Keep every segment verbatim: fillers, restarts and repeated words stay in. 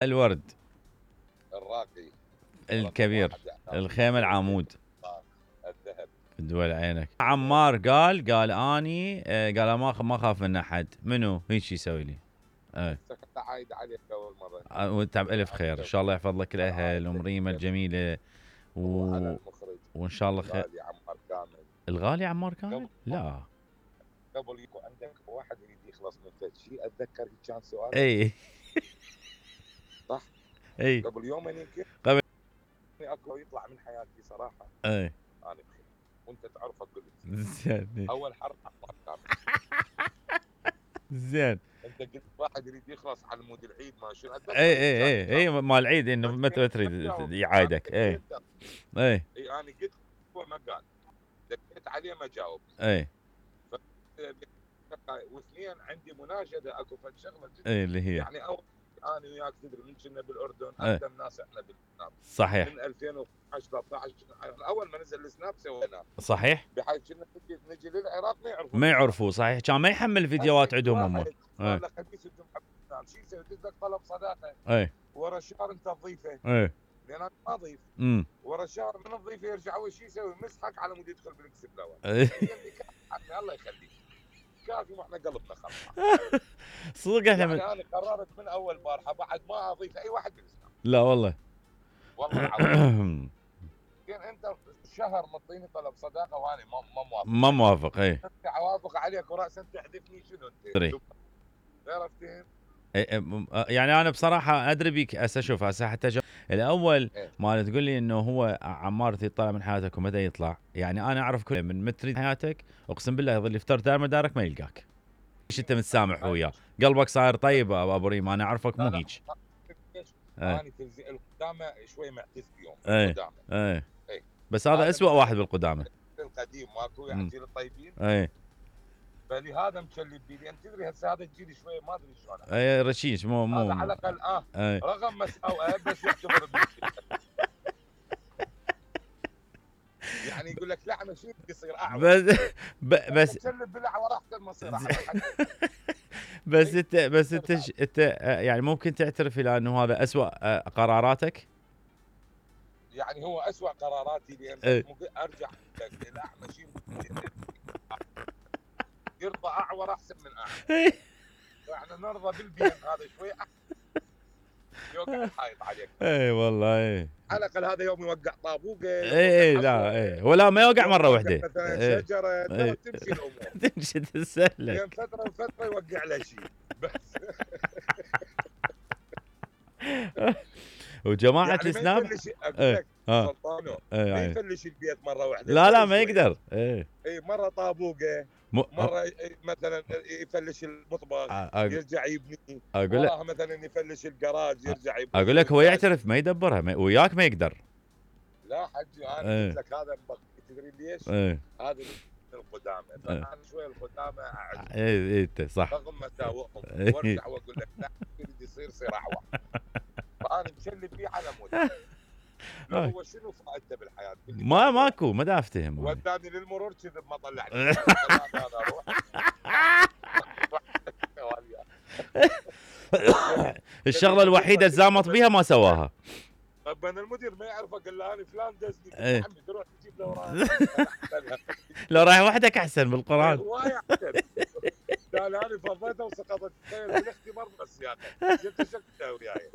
الورد الراقي الكبير، الخيمة العمود، الذهب. دول عينك. عمار قال قال اني قال ما ما اخاف من احد. منو هيك يسوي لي؟ اي عايد عليك اول مره وانت بالف خير، ان شاء الله يحفظ لك الاهل ومريمه الجميله و... وان شاء الله خير. الغالي عمار كامل. الغالي عمار كامل؟ لا قبل يكون عندك واحد يريد يخلص من فد شيء اتذكر كان سؤال. اي صح؟ اي قبل يومين يمكن قبل اكو يطلع من حياتي صراحه. اي انا بخير وانت تعرفه قلت زين. اول حرف عمار كامل. زين. انت قلت واحد يريد يخلص على مود العيد ما شنو. اي اي اي اي مال العيد انه متى تريد يعايدك. اي اي اي انا قلت هو ما قال دقيت عليه ما جاوب. اي واثنين عندي مناشده اكو فد شغله اي اللي هي يعني اول انا وياك تدري من كنا بالاردن اقدم ناس احنا بالسناب. صحيح. من ألفين وعشرة ثلاثة عشر اول ما نزل السناب سويناه. صحيح. بحيث كنا نجي للعراق ما يعرفوا ما يعرفوا. صحيح. كان ما يحمل فيديوهات عندهم هم. والله خبيث انتم حبيبنا شو يسوي يدز طلب صداقه. اي ورا الشهر انت تضيفه. اي لان انا ما اضيف. امم ورا الشهر من تضيفه يرجع اول شيء يسوي مسحك على مود يدخل بالاكس بلاور. الله يخليك كافي واحنا قلبنا خلاص. صدق احنا يعني من... انا قررت من اول بارحه بعد ما اضيف اي واحد بالاسلام. لا والله والله العظيم. كان انت شهر مطيني طلب صداقه وانا ما ما موافق. ما موافق. اي اوافق عليك وراسا تحذفني شنو انت؟ عرفتين؟ يعني انا بصراحه ادري بيك هسه. شوف هسه حتى الاول ما تقول لي انه هو عمار يطلع من حياتك ومتى يطلع. يعني انا اعرف كل من متريد حياتك اقسم بالله يظل يفتر دار مدارك ما يلقاك. ايش انت متسامح وياه؟ قلبك صاير طيب ابو ريم. انا اعرفك مو هيك. انا تلزي القدامى شوي معتز بيوم. القدامى اي بس هذا اسوء واحد بالقدامى. القديم ماكو يعني جيل الطيبين. اي فلهذا مكلب بي لان تدري هسه هذا الجيل شوي ما ادري شلون. اي رشيش مو مو هذا على الاقل اه أي. رغم مساوئه بس يعتبر يعني يقول لك لا مشي يصير اعور. بس بس مكلب بلع وراح المصير. بس انت بس انت انت يعني ممكن تعترف الى انه هذا اسوء قراراتك؟ يعني هو اسوء قراراتي لان ارجع الى مشي يرضى اعور احسن من اعور. احنا نرضى بالبين هذا شوي احسن. يوقع الحائط عليك. اي والله اي. على الاقل هذا يوم يوقع طابوقه. اي اي لا اي ولا ما يوقع مره واحده. مثلا شجره تمشي الامور. تمشي تسلك. بين فتره وفتره يوقع له شيء بس. وجماعه يعني السناب اقول لك سلطانو ما يفلش البيت مره واحده. لا لا ما يقدر. اي اي مره طابوقه م... مره مثلا يفلش المطبخ يرجع يبني. اقول لك مثلا يفلش الجراج يرجع يبني. اقول لك هو يعترف ما يدبرها ما... وياك ما يقدر. لا حجي انا قلت لك هذا تدري ليش؟ ايه. هذا القدامى فانا شوي القدامى اعجب. اي اي انت صح. رغم مساوئهم وارجع واقول لك لا يريد يصير يصير اعور. فانا مشلب فيه على مود. هو شنو فائدته بالحياه؟ ما ماكو ما دا افتهم. وداني للمرور كذب ما طلعني. الشغله الوحيده الزامط بيها ما سواها. طب انا المدير ما يعرف اقول له انا فلان دزني يا عمي تروح تجيب له وراه. لو رايح وحدك احسن بالقران. هواي احسن. قال انا فضيته وسقطت بالاختبار بس يعني جبت شكله وياي.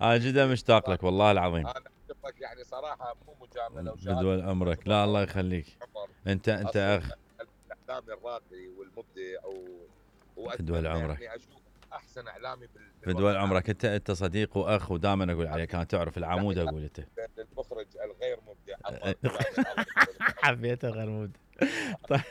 انا جدا مشتاق لك والله العظيم. انا اشوفك يعني صراحه مو مجامله بدول عمرك. لا الله يخليك. انت انت اخ الاعلامي الراقي والمبدع و بدول عمرك. يعني اشوف احسن اعلامي بدول عمرك. انت انت صديق واخ ودائما اقول عليك انا تعرف العمود اقول انت. المخرج الغير مبدع. حبيته غير مبدع. طيب